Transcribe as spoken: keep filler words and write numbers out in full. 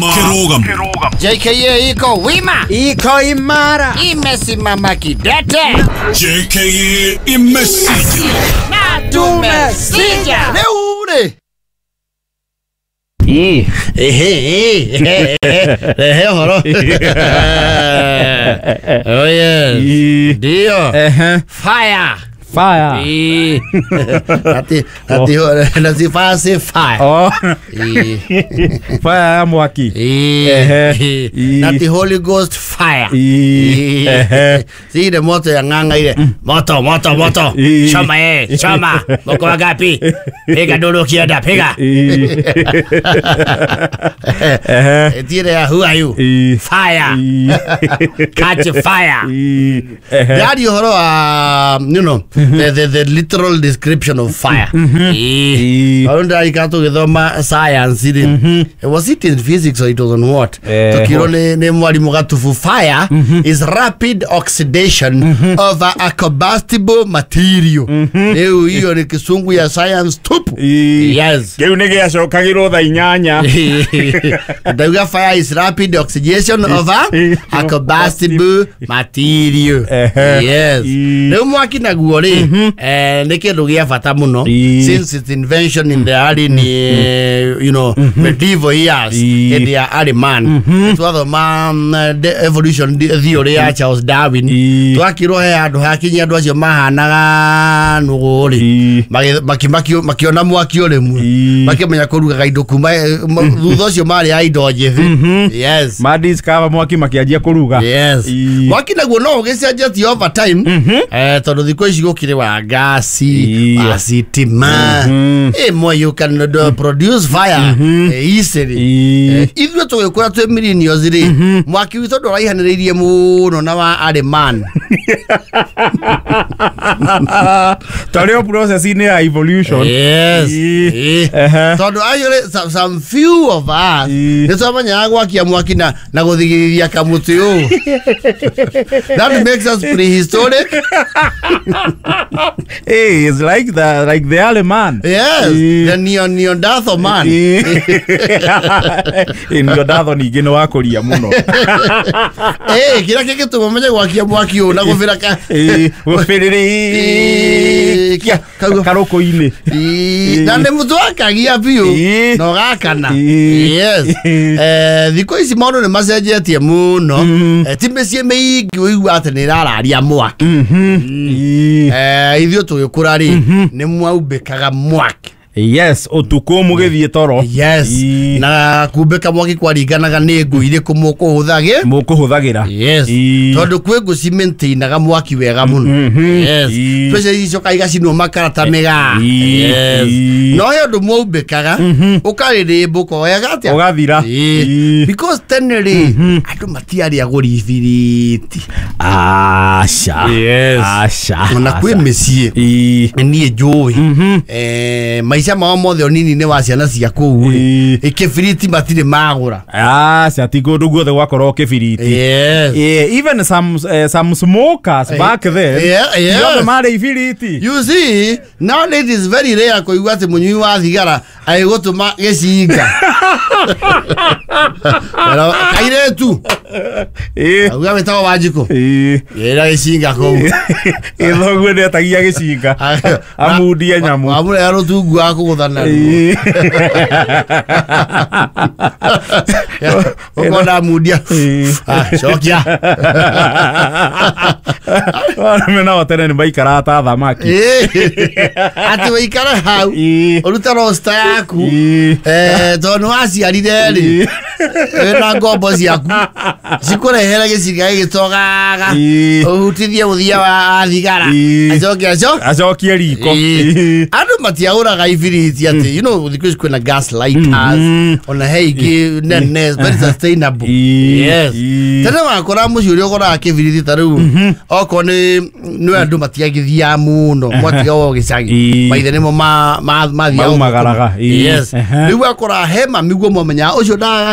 Kirugamo. J K A iko wima, iko imara, imesimama kidete. J K A imesija na tumesija leo. Ii. Ehe, ehe, ehe, horo. Oh yes. Ndio. Ehe. Fire. Fire. Ii. Ati ati ati fire say fire. Oh. Ii. Fire ya mwaki. Ii. Ehe. Nati Holy Ghost fire. Ii. Ehe. Si ile moto ya ng'anga ile. Moto, moto, moto. Ii. Choma eh, choma. Mko wangapi? Piga dolo kienda, piga. Ii. Ehe. Tire ya who are you? Ii. Fire. Ii. Catch fire. Ii. Ehe. Daddy horo um, you know, the, the, the literal description of fire. Ii. Aronda ikato githoma science ri. Was it in physics or it was on what? Eh, Tukiro ni ni mwalimu gatufu fire is rapid oxidation of a, a combustible material. Leo hiyo ni kisungu ya science tupu. Ii. Yes. Kĩu nĩ gĩacokagĩrwo thaa inyanya. Ndauga fire is rapid oxidation of a, a combustible material. Ehe. Yes. Ii. Rĩu mwaki naguo rĩ, eh, nĩ kĩndũ gĩa bata mũno Ii. since its invention in the early you know medieval years Ii. hĩndĩ ya early man. Twathoma mm, the evolution theory ya Charles Darwin. Ii. Twakirwo he handũ hakinyia andũ acio mahanaga nũgũ rĩ, Ii. Magi- maki- maki- makiona mwaki ũrĩmwe Ii. makĩmenya kũrugaga indo kuma eh, ma- thutha ũcio marĩ a indo njĩthĩ. Yes. Madiscover mwaki makĩanjia kũruga. Yes. Ii. Mwaki naguo no ũgĩcenjetie over time. Eh, tondũ thikũ ici gũkĩrĩ wa gasi, Ii. wa sitima. Ĩmwe you can uh, produce fire eh, easily. Ii. Eh, ithuĩ tũgĩkũra twĩ millennials rĩ, mwaki witũ ndũraihanĩrĩirie mũno na wa early man. Twarĩ o process-inĩ ya evolution. Yes. Ii. Ii. Ehe. Tondũ actually some, some few of us Ii. nĩ twamenyaga gwakia mwaki na, na gũthigithia kamũtĩ ũũ. That makes us prehistoric. Hey, it's like the like the early man. Yes. Ii. The neo Neanderthal man. Ii. Ĩ, Neanderthal ningĩ nĩ wakũria mũno. Eh, kĩrĩa kĩngĩtũma menye gwakia mwaki ũũ na gũbĩra ka Ii, gũbĩrĩrĩkia Kau- karũkũ-inĩ. Ii, na nĩ mũtũ wakagia biũ Ii. na ũgakana. Ii. Yes. Eh, thikũ ici maũndũ nĩ macenjetie mũno. Eh, ti mĩciĩ mĩingĩ ũigua atĩ nĩ ĩrararia mwaki. Ii. Eh, ithuĩ tũgĩkũra rĩ, nĩ mwaumbĩkaga mwaki. Yes, ũtukũ mũgĩthiĩ toro. Yes. Ii. Na kumbĩka mwaki kwaringanaga nĩ ngũ irĩkũ mũkũhũthagĩ. Mũkũhũthagĩra. Yes. Ii. Tondũ kwĩ ngũ cimaintainaga mwaki wega mũno. Yes. Ii. Especially icoka igacinwo makara ta mĩgaa. Ii. Yes. Ii. No he ũndũ mwaumbĩkaga ũkarĩrĩmbũka wega atĩa? Ũgathira. Ii. Ii. Because tene rĩ, andũ matiarĩ agũri ibiriti. Aca. Yes. Aca. Ona kwĩ mĩciĩ Ii. niĩ njũĩ eh, maica mao mothe ũnini-inĩ wa ciana cia kũu rĩ, Ii. kĩbiriti matirĩ magũra. Aca, ti kũndũ guothe gwakorwo kĩbiriti. Yes. Yeah, even some uh, some smokers back then. Yeah, yeah. Ti othe marĩ ibiriti. You see, nowadays it is very rare kũigua atĩ mũnyui wa thigara agĩgũtũma gĩcinga. Pero kairĩtu Ii. auga wĩtagwo Wanjikũ Ii. ĩra gĩcinga kũu. Ĩ, thoguo nĩetagia gĩcinga amundie nyamũ. Wamũrehera rũtungu wa kũgũtha naruo. Ii. Ũkona amundia. Ii. Ah, cokia. Arũme nao tene nĩ maikaraga ta thamaki. Ĩ, atĩ wĩikare hau Ii. ũrute rosta yaku. Ii. Eh, tondũ nĩ waciarire rĩ, wĩna ngombo ciaku cikũrehere gĩcinga gĩgĩtogaga Ii. ũhutithie mũthia wa thigara Ii. acoke aco Acokie riko. Ii. Ii. Andũ matiagũraga ibiriti atĩ you know thikũ ici kwĩna gas lighters ona he ingĩ nene very sustainable. Ii. Yes. Ii. Tene wakora mũciĩ ũrĩa ũgoraga kĩbiriti ta rĩu okorwo nĩ nĩ andũ matiagĩthiaga mũno mwatiga o gĩcagi Ii. maithe nĩmo ma- ma- mathiaga Maumagaraga. Ii. Yes. Ehe. Rĩu wakora he mami guo mwamenyaga ũcio ndagaga